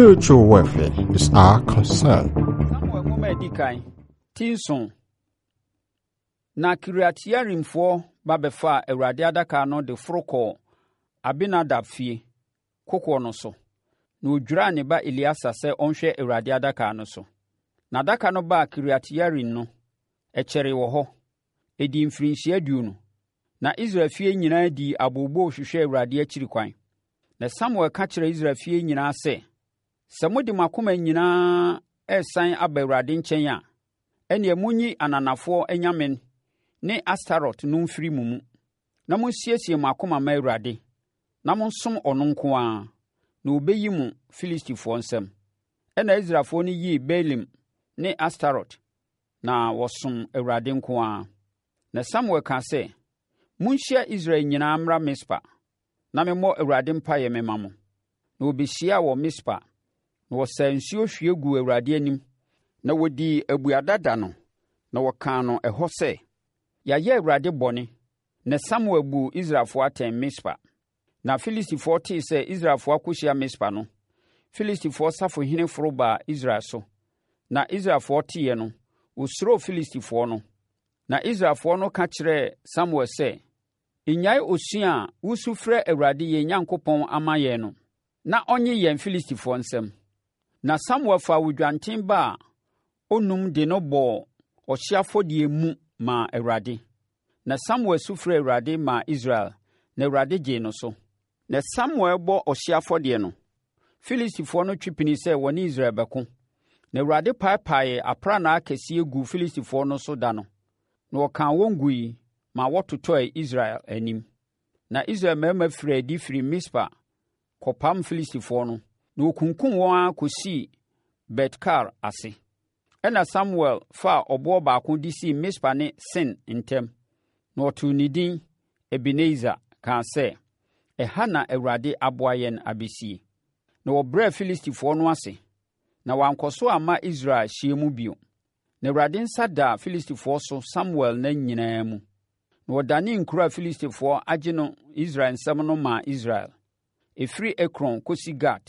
spiritual welfare is our concern. Samuel nwoma a edi kan, ti nson. Na Kiriat-Yearimfoɔ ba bɛfaa Awurade adaka no de foro kɔɔ Abinadab fie, kokoɔ no so, na wɔdwiraa ne ba Eleasa sɛ ɔnhwɛ Awurade adaka no so. Na adaka no baa Kiriat-Yearim no, ɛkyɛree wɔ hɔ. Ɛdii mfirinhyia 20. Na Israel fie nyinaa dii abooboo hwehwɛɛ Awurade akyiri kwan. Na Samuel ka kyerɛɛ Israel fie nyinaa sɛ, Sɛ mode mo akoma nyinaa resane aba Awurade nkyɛn a, ɛnneɛ monyi ananafoɔ anyame ne Astarot no mfiri mo mu, na monsiesie mo akoma mma Awurade, na monsom ɔno nko ara, na ɔbɛyi mo Filistifoɔ nsam. Ɛnna Israelfoɔ no yii Baalim ne Astarot, na wɔsom Awurade nko ara. Na Samuel kaa sɛ, Monhyia Israel nyinaa mmra Mispa, na memmɔ Awurade mpaeɛ memma mo. Na wɔbɛhyiaa wɔ Mispa, na wɔsaa nsuo hwie guu Awurade anim, na wɔdii abuada da no, na wɔkaa no ɛhɔ sɛ, Yɛayɛ Awurade bɔne. Na Samuel buu Israelfoɔ atɛn Mispa. Na Filistifoɔ tee sɛ Israelfoɔ akɔhyia Mispa no, Filistifoɔ safohene foro baa Israel so. Na Israelfoɔ teeɛ no, wɔsuroo Filistifoɔ no. Na Israelfoɔ no ka kyerɛɛ Samuel sɛ, Nnyae osu a wusu frɛ Awurade yɛn Nyankopɔn ama yɛn no, na ɔnnye yɛn Filistifoɔ nsam. Na Samuel faa odwanten ba a ɔnum de no bɔɔ ɔhyeɛ afɔdeɛ mu maa Awurade. Na Samuel su frɛɛ Awurade maa Israel, na Awurade gyee no so. Na Samuel rebɔ ɔhyeɛ afɔdeɛ no, Filistifoɔ no twe pinii sɛ wɔne Israel bɛko. Na Awurade paepaee aprannaa kɛseɛ guu Filistifoɔ no so da no, na ɔkaa wɔn gui ma wɔtotɔe Israel anim. Na Israel mmarima firii adi firii Mispa kɔpam Filistifoɔ no, na wɔkunkum wɔn ara kɔsii Bet-Kar ase. Ɛnna Samuel faa ɔboɔ baako de sii Mispa ne Sen ntam, na ɔtoo ne din Ebeneser kaa sɛ, Ɛha na Awurade aboa yɛn abɛsie. Na wɔbrɛɛ Filistifoɔ no ase, na wɔankɔ so amma Israel hyeɛ mu bio. Na Awurade nsa daa Filistifoɔ so Samuel nna nyinaa mu. Na wɔdanee nkuro a Filistifoɔ agye no Israel nsam no maa Israel, ɛfiri Ekron kɔsi Gat,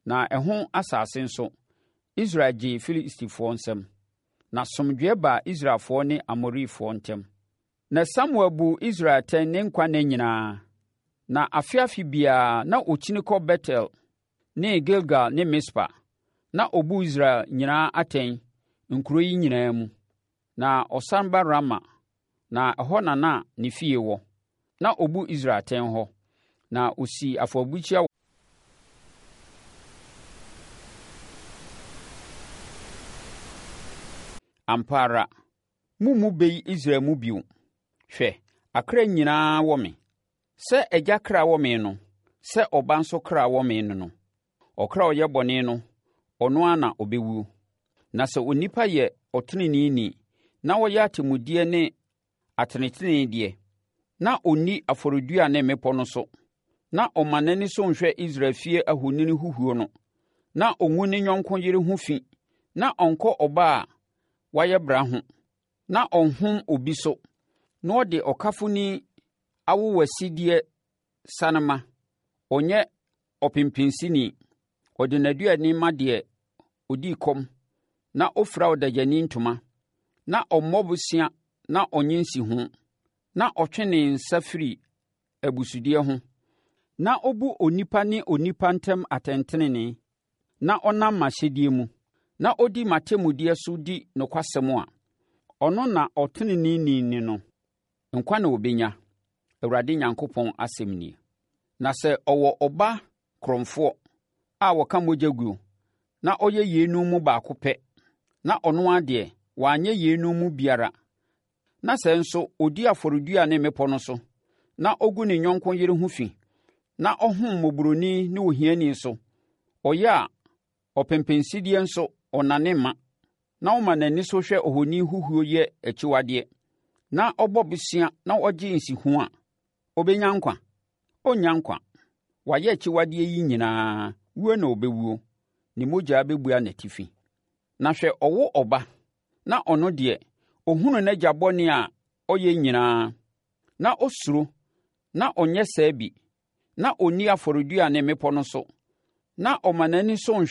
na ɛho asase nso, Israel gyee Filistifoɔ nsam. Na asomdwoeɛ baa Israelfoɔ ne Amorifoɔ ntam. Na Samuel buu Israel atɛn ne nkwa nna nyinaa. Na afe afe biara na ɔkyini kɔ Betel ne Gilgal ne Mispa, na ɔbu Israel nyinaa atɛn nkuro yi nyinaa mu. Na ɔsan ba Rama, na ɛhɔ na na ne fie wɔ. Na ɔbu Israel atɛn hɔ, na ɔsii afɔrebukyia Ampa ara, Mommu bɛ yi Israel mu bio. Hwɛ, akra nyinaa wɔ me. Sɛ agya kra wɔ me no, sɛ ɔba nso kra wɔ me ne no. Ɔkra a ɔyɛ bɔne no, ɔno ara na ɔbɛwuo. Na sɛ onipa yɛ ɔteneneeni na ɔyɛ atemmudeɛ ne atenetenedeɛ, na ɔnni afɔredua ne mmepɔ no so, na ɔma n'ani so nhwɛ Israel fie ahoni huhuo no, na ɔngu ne yɔnko yere ho fi, na ɔnkɔ ɔbaa a wayɛ bra ho, na ɔnhom obi so, na ɔde ɔkafoni awowasideɛ sane ma, ɔnyɛ ɔpempensini, ɔde n'aduane ma deɛ ɔdi kɔm na ɔfira ɔdagyani ntoma, na ɔmmɔ bosea na ɔnnye nsiho, na ɔtwe ne nsa firi abusudeɛ ho, na ɔbu onipa ne onipa ntam atɛntenenee, na ɔnam m'ahyɛdeɛ mu, na ɔdi m'atemmudeɛ so di nokwasɛm a, ɔno na ɔteneneeni ne no. Nkwa na ɔbɛnya, Awurade Nyankopɔn asɛm nie. Na sɛ ɔwɔ ɔba korɔmfoɔ a ɔka mogya guo, na ɔyɛ yeinom mu baako pɛ, na ɔno ara deɛ, wanyɛ yeinom mu biara, na sɛ nso ɔdi afɔredua ne mmepɔ no so, na ɔgu ne yɔnko yere ho fi, na ɔhom mmɔborɔni ne ohiani so, ɔyɛ a ɔpempensideɛ nso ɔnnane mma, na ɔma n'ani so hwɛ ohoni huhuo yɛ akyiwadeɛ, na ɔbɔ bosea na ɔgye nsiho a, ɔbɛnya nkwa? Ɔrennya nkwa. Wayɛ akyiwadeɛ yi nyinaa, wuo na ɔbɛwuo, ne mogya bɛbua n'atifi. Na hwɛ ɔwo ɔba, na ɔno deɛ, ɔhunu n'agya bɔne a ɔyɛ nyinaa, na ɔsuro, na ɔnyɛ saa bi, na ɔnni afɔredua ne mmepɔ no so, na ɔma n'ani so